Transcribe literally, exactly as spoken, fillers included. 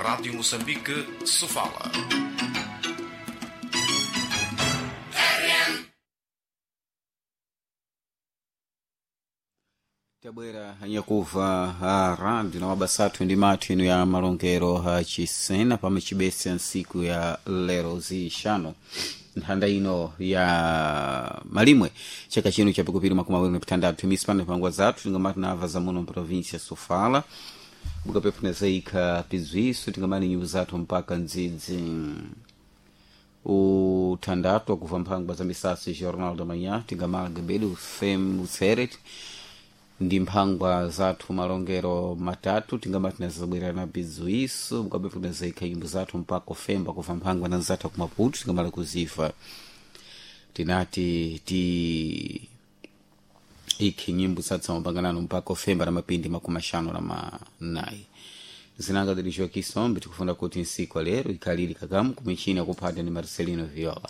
Rádio Moçambique, Sofala. Tabwera nyakuva a rádio na mabasa ndi mathu inu ya malongero a chisena pamwe chibesa nsiku ya lero zixano nthanda ino ya malimwe chaka chino cha pikupiri makumi awiri na pitandatu imisipano pangwa zathu tingamati nava za muno mprovinsia sofala bukapefuna zaikha pizwiso tingamani nyimbo zathu mpaka ndzidzi uthandatu akuva mphangwa za misasi Jornal da Manhã tingamala gebedu fem utseret ndi mphangwa zathu malongero matatu tingamati nazabwera na bizuiso mukabefuna zaikha nyimbo zathu mpaka ofemba kuva mphangwa na zathu kumaputu tingamala kuzifa tinati ti ikhi nyimbo zathu mapanganano mpaka ofemba na mapindi makumi axano na manayi zinanga dili Joaquim Sombe tikufunda kuti nsiku alero ikhalili kakamu kumichina kuphata ni Marcelino Viola.